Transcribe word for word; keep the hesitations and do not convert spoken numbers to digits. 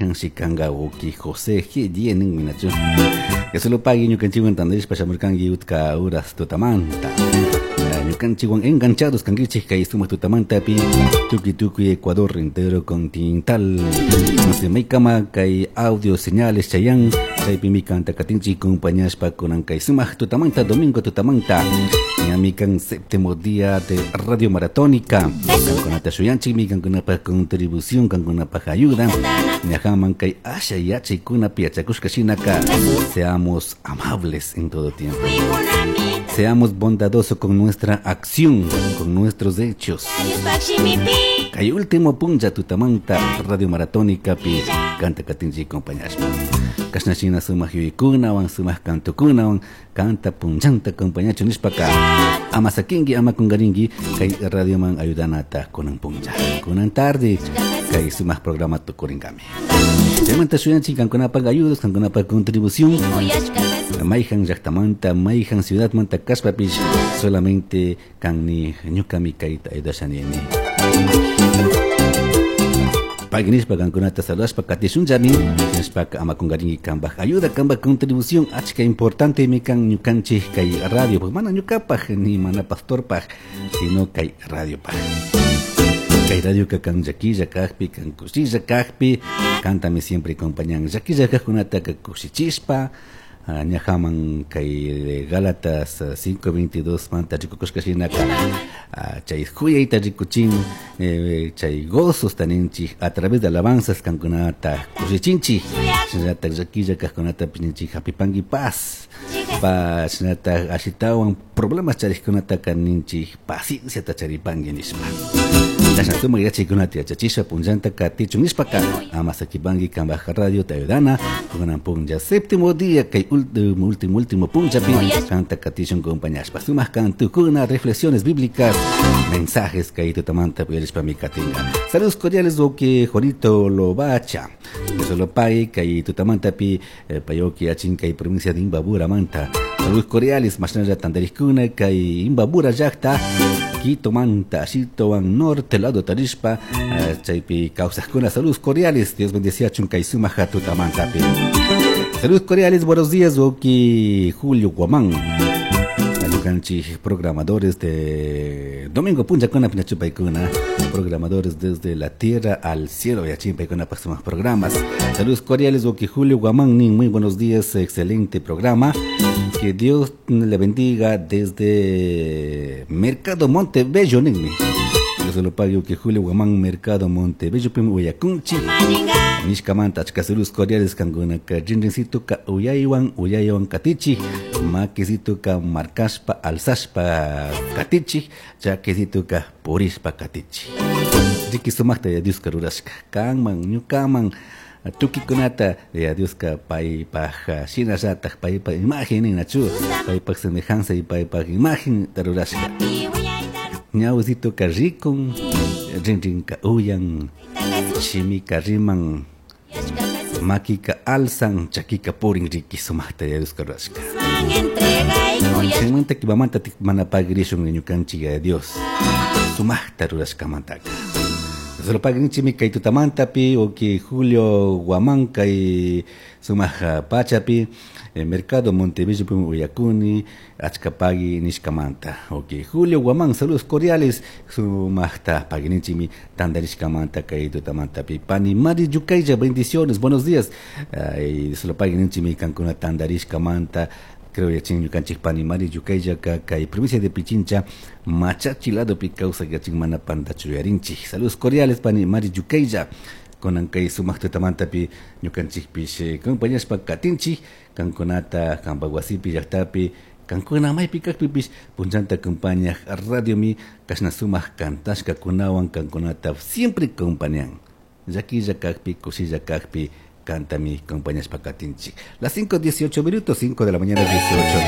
Mayhanshi kanka wawki José G. Ninmi nachu. Dios lo pague ñukanchikwan tandarishpa shamurkanki utka uras tutamanta. Ñukanchikwan enganchados kankichik kay sumaq tutamantapi tukuy tukuy Ecuador entero continental. No sé, maykama kay audio señales chayan chaypimi kanta katinchik compañashpa kunan kay sumaq tutamanta domingo tutamanta. Ñami kan séptimo día de Radio Maratónica. Kankunata shuyanchikmi kankunapaj contribución kankunapaj ayuda. Ñajaman kay asha yachaykunapi yachakushka shinaka seamos amables en todo tiempo. Seamos bondadosos con nuestra acción, con nuestros hechos. Kay último puncha tutamanta Radio Maratónica pi kanta katinchik compañashpa. Kashna shina sumaq yuyaykunawan sumaq kantukunawan kanta punchanta acompañachu nishpaka ama sakinki ama kungarinki kay radioman ayudanata kunan puncha kunan tarde kay sumaq programa tukurinkami. Chaymanta shuyanchik kankunapaq ayudas kankunapaq contribución mayhan llaqtamanta mayhan ciudadmanta kashpapish solamente kanni ñukami kayta ayudashanini. Pagui nishpa kankunata saludashpa katishunllami nishpaka ama kungarinki kanpaj ayuda kanpaj contribución achka importante mi kan ñukanchik kay radio pues mana ñukapaj ni mana pastorpaj sino kay radiopaj. Kay radioka kan llakilla kajpi kan kushilla kajpi kantami siempre acompañan llakilla kajkunataka kushichishpa ñajaman kay Gálatas cinco veintidós manta rikukushka shinaka chay juyayta rikuchin chay gozos taninchik a través de alabanzas kankunata kushichinchik shinallatak llakilla kajkunata ninchik hapipanki paz pa shinallatak ashitawan problemas charikkunataka ninchik pacienciata charipanki nishpa. Chashna sumak yachaykunata yachachisha punllanta katichun nishpaka ama sakipanki kanpaj radio te ayudana kunan punlla séptimo día kay último último último punllapi kanta katishun compañashpa sumak kantukuna reflexiones bíblicas mensajes kay tutamanta uyarishpami katinka. Saludos cordiales wawki Juanito Lobacha Dios lo pague kay tutamantapi payoki achin kay provincia de Imbabura manta. Saludos cordiales mashnalla tandariskuna kay Imbabura llaqta Quito manta ashitowan norte lado tarishpa chaypi kawsaqkuna. Saludos cordiales Dios bendeciachun kay sumaq tutamantapi. Saludos cordiales buenos días wawki Julio Guamán ñukanchik programadores de Domingo Punchakuna Pinachupaykuna programadores desde la tierra al cielo yachimpaykuna sumaq programas. Saludos cordiales wawki Julio Guamán nin muy buenos días excelente programa que Dios le bendiga desde Mercado Montebello ninmi. Dios lo pague que Julio Guamán Mercado Montebello pim uyakunchi nishkamanta achka saludos cordiales kankunaka rinrincito ka uyaywan uyaywan katichik makisito ka markashpa alzashpa katichik chakisito ka purishpa katichik. Riki sumakta ya Dioska rurashka kanman ñukaman tukikunata ya Dioska paypaj shinallatak paypaj imagen ninachu paypaj semejanza y paypaj imagen rurashka. Ñawisito ka rikun rinrinka uyan shimika riman makika alzan chakika purin riki sumakta ya Dioska rurashka. Chaymanta kipamanta mana pagrishun ñukanchik ya Dios sumakta rurashkamantaka. Solo pagrinchimi kay tutamantapi wawki Julio Guamán kay sumaq pachapi Mercado Montebello pim uyakuni achka pagui nishkamanta. Wawki Julio Guamán saludos cordiales sumaqta pagrinchimi tandarishkamanta kay tutamantapi. Pani Mari Yukaylla bendiciones buenos días. Ay, solo pagrinchimi kankuna tandarishkamanta creo yachin ñukanchik pani Mari Yukaylla kay provincia de Pichincha Machachi ladopi kawsak yachin mana pantachu yuyarinchik. Saludos cordiales pani Mari Yukaylla kunan kay sumaq tutamantapi ñukanchikpish compañashpa katinchik kankunata kanpak wasipi llaqtapi kankuna maypi kaqpipish punchanta acompañaq radiomi kashna sumaq kantashkakunawan kankunata siempre acompañan llakilla kaqpi kushilla kaqpi cantami compañashpa katinchik. Las cinco dieciocho minutos, cinco de la mañana dieciocho.